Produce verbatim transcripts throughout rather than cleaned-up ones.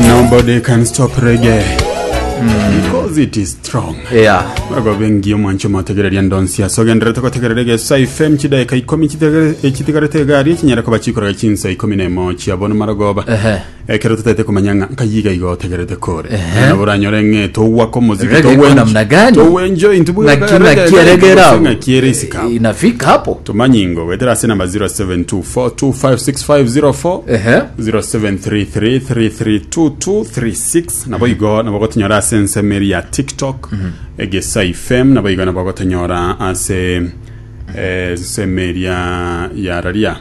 Nobody can stop reggae because it is strong. Yeah. Bago bengi omwancho motegereria ndonsi asogenderete gotegerera Egesa F M chidaeka ikomi chitegere- chitigarete egari echinyara koba chikoraga chinsa ikomi na emo chiabono marogoba. Ehe. Ekero tutaete kumanya ng'a nkayiga igo otegerete kore nabo oranyore ng'e togwaka omoziki. Reggae iko namna gani? Towenjoy intu. Ng'aki ng'aki eregera abo? Ng'aki ere isika. Inafika hapo. Tumanyingo gwetera ase namba zero seven two four two five six five zero four, Ehe. zero seven three three three three two two three six. Nabo igo nabo gotonyora ase ensemeri ya TikTok Egesa F M. Nabo igo nabo gotonyora ase eh, ensemeri ya ya raria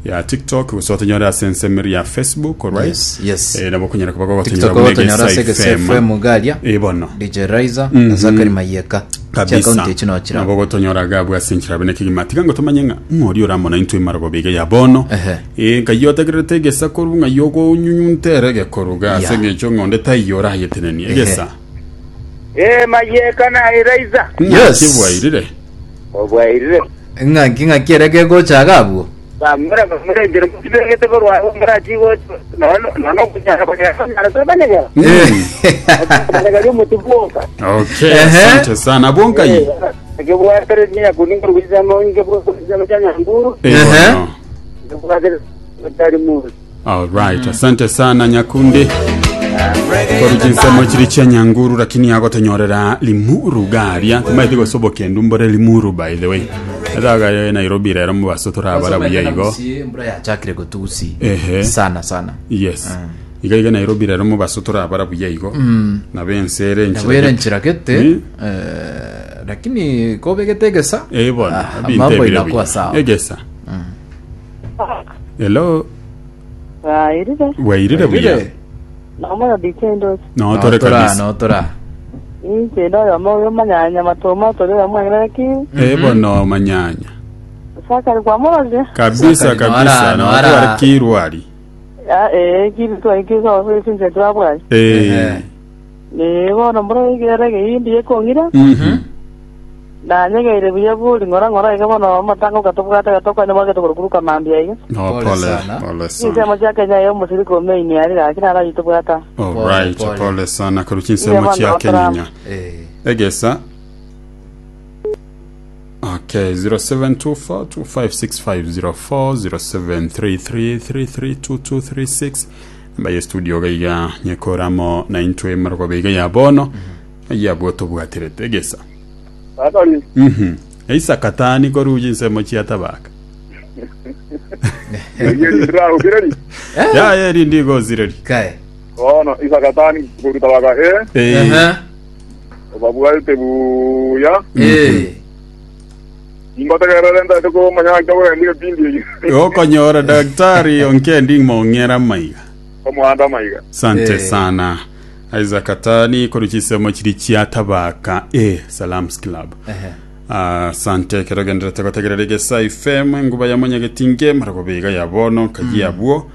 ya TikTok gose gotonyora ase ensemeri ya Facebook, alright? Yes, yes. Eh, nabo konyara kuba gotonyora TikTok buna gotonyora ase Egesa Egesa F M. F M garia. Eh, bono. D J Raiza na Zakari Mayeka. Kabisa. Chiakaunti echi nochira. Nabo gotonyora gabwo ase enchera bene kegima. Tiga ngo tomanye ng'a ng'ori oramona intwe marogo bige ya bono. Ehe. Eh, nkai otegererete egesa koru ng'a yogonyunyuntere gekoruga ase Yeah. eng'encho ng'onde taiyo orayeteneni egesa. Eh, Mayeka na Eraiza. Yes. Kibwairire. Obwairire. Ng'aki ng'aki erege gocha gabwo. Bamura bamura njira mutibegete korwa murachi gocho. No no no kunyara kunyara kunyara tobanyagera. Banyagera mutuboka. Okay. Ehe. Asante sana abwo nkai. Kibwatere nya kuninga rugizamo inge bwo chanya nguru. Eh, Ehe. bono. Kibwatere tari mu. Alright, asante sana Nyakundi koruchinsemo chiri chia Nyanguru, lakini agotonyorera Limuru garia timaiti gosobokendu mbore Limuru. By the way, ethaga Nairobi rero mubaso torabara buya igo. Mbura yachakire gotusi. Ehe. Sana sana. Yes, iga iga Nairobi rero mubaso torabara buya igo nabe ensere. Nabwere nchira gete. Mm. Eh, lakini kobegete egesa. Eh, bono. Ah, Bintu mambo ebire inakuwa buya. sawa. Egesa, hello. Wairire. Wairire buya. Wairire. Nomona D J Ndosi. No tore Notora, kabisa. Notora. Inche ndoyo mo manyanya matoma tore mwang'ana ki. Eh, bono manyanya. Sakari kwa moroje. Kabisa. Sakari, Kabisa. noara, No noara. twari kirwari. Ya eh kiri tu iki so sinche twabwa. Eh. Ehe. Ne bono mboro igere indi yekongira. Mhm. Na nyegeire buya buri ngora ngora iga bono matango katobwata gatoka ne mwage tukuruka mambia iga. No. Pole Pole sana. pole Inche sana. mo cha Kenya yo musiriko meini ari lakini ara yitobwata. Alright. Pole, pole. Pole sana kuruchinsemo Iye, chia bono, Kenya. Eh. Egesa. Okay, zero seven two four two five six five zero four, zero seven three three three three two two three six namba ye studio gaiga nyekoramo na intwe marogo biga ya bono yabwo tobwatirete egesa. Atari. Mhm eisa katani koruji nsemo chia Tabaka. Yeri ndira ukireri. Ya yeri ndigo zireri. Kae. Ono isakatani kurutabaka eh. Eh. Ehe. Obabwaite buya. Eh. Ingotegerere ndate ko manya ko ndike pindi. Okonyora daktari onkendi mong'era maiga. Omuhanda maiga. Sante Eh. sana Isaac Katani koruchisemo chiri chia Tabaka e Salams Club. Ehe. Asante kero genderete gotegerera Egesa F M nguba ya monyagetinge marago biga ya bono kayi abwo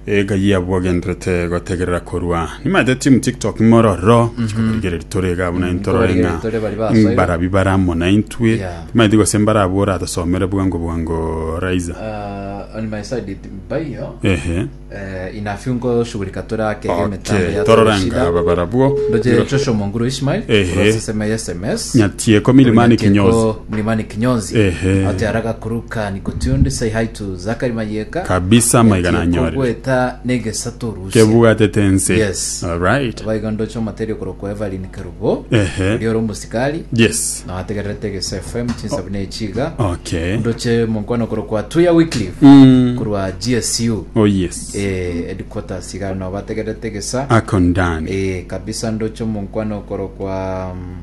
e kayi abwo genderete gotegerera korwa nimaete team TikTok mororo chikorigereri torega buna intorore Korigereri tore bari basoire. barabi baramo na intwe. Yeah. Timaete gose mbarabwo oratosomere bwango bwango Raiza. Uh, on my side it bayo. Ehe. Eh, inafiungo shughulika tora ke mitambo Okay, ya tororanga aba barabwo. Ndoje Joshua Monguru Ishmael. Ehe. Kurosesema S M S. Nyatieko Milimani Kinyozi. Mlimani Kinyozi. Ehe. Ate haraka kuruka niko tuned, say hi to Zakari Mayeka. Kabisa maiga nanyorire. Gweta negesa torusia. Kebwate tense. Yes. Alright. Baiga ndocho materio korokwa Evelyn Karubo. Ehe. Urioro musikali. Yes. Na wategerete Egesa F M chinsabune chiga. Okay. Ndoche munkwano korokwa Tuya Wycliffe. Mm. Kurwa G S U. Oh yes. Eh, headquarters iga no bategerete gesa. Ako ndani. Eh, kabisa ndocho munkwano korokwa mm,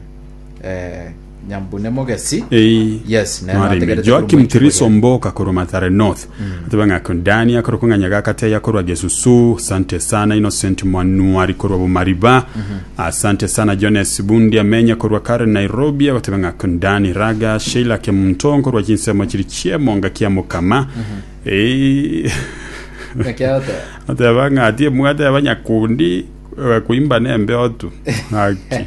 eh, Nyambune Mogesi. Eh. Yes, na Mwarime. nategerete Joakim kuruma Tiriso Mboka korwa Mathare North. Atebanga ako ndani akorokwa ng'anyaga kateya korwa Gesusu. Asante sana Innocent Mwanuari korwa Bumariba. Asante sana Jones Bundi amenya korwa Karen Nairobi abatebanga ako ndani Raga Sheila Kemuntongo korwa chinsemo chiri chiemonga kia Mukama. Eh. Nekiata. Ateba ng'ati mwate abanyakundi eh, kuimba nembe otu haki.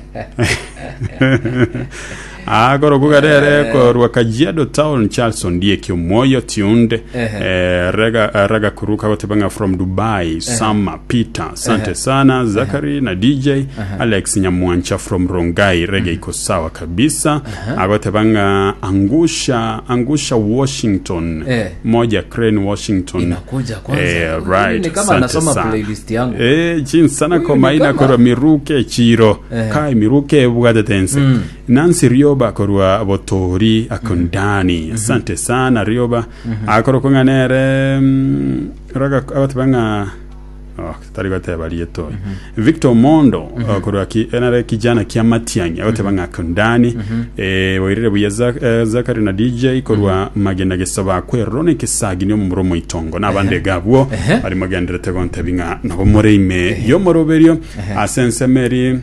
Agoro kugarere korwa Kajiado Town Charles Ondieki Omoyo tuned. Ehe. Eh, rega eh, rega kuruka gotebanga from Dubai Sama Peter. Asante sana Zachary na D J Alex Nyamwancha from Rongai, rege iko sawa kabisa. Agotebanga angusha angusha Washington. Eh. Moja Crane Washington. Inakuja kwanza. Eh, Huyu right. ni kama Asante anasoma sana. Playlist yangu. Eh, chinsana Huyu ni komaina kama- korwa miruke chiro Eh. kai miruke bwatetense. Nancy Rioba korwa Botori akondani, asante sana Rioba. Akoro kong'anere mm, raga abatibanga, oh, tari goteba rieto. Victor Mondo uh, korwa ki enare kijana kia Matiang'i agotebanga akondani. eh boirire buya Zak- eh, Zakari na D J korwa magena gesaba kwerone kisagi ni omuro itongo nabande gabwo Ehe. bari magenderete gontebi ng'a nabo moreime yomoroberio asensemeri.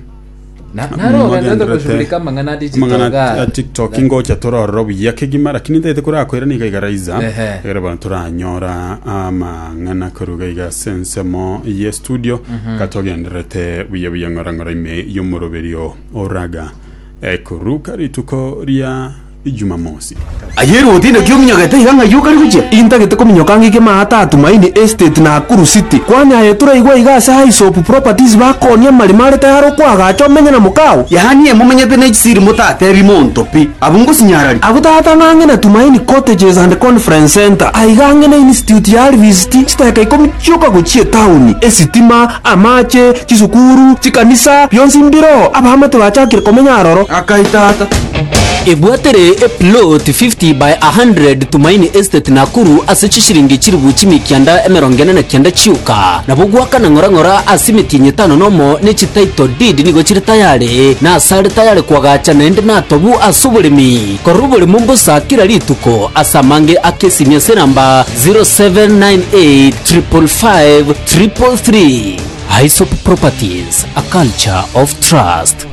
Na- naro Magenderete. ogenderete kushughulika mang'ana digital Mang'ana ga- a TikTok ngocha torororo buya kegima, lakini ndete kurakwira niga igaraiza Ehe. egere bono turanyora amang'ana koruga iga sensemo ye studio katogenderete buya buya ng'ora ng'ora ime yomoroberio oraga ekuruka rituko ria Ijumamosi. Ayero otinde kiominyogete iga ng'ai okari gochia Intagete kominyoka ng'ike maata Tumaini Estate Nakuru City kwanyaye turaigwa iga ase Hisop Properties bakonia marima are tayari okwagacha omenye na mukao. Yaani emomenyete na echisiri motatebi monto pi abu ngosinyarari. Abu tata ng'ang'e na Tumaini Cottages and Conference Center aiga ang'e na Institute ya Alvist chitaka ikomi chioka gochia etauni esitima amache chisukuru chikanisa bionsi mbiro abahamate bachakire komenya aroro. Akai tata. Ebwatere eplot fifty by one hundred Tumaini Estate Nakuru ase chishiringi chiribu chimikianda emerongo ene na kianda chiuka nabo gwakana ng'orang'ora ase emitinyi etano nomo ne chititle deed nigo chiri tayari na asare tayari kwagacha naende natobu ase oboremi korora oboremo mbosa kila rituko ase amange akesimia ase namba zero seven nine eight five five five three three. Hisop Properties, a culture of trust.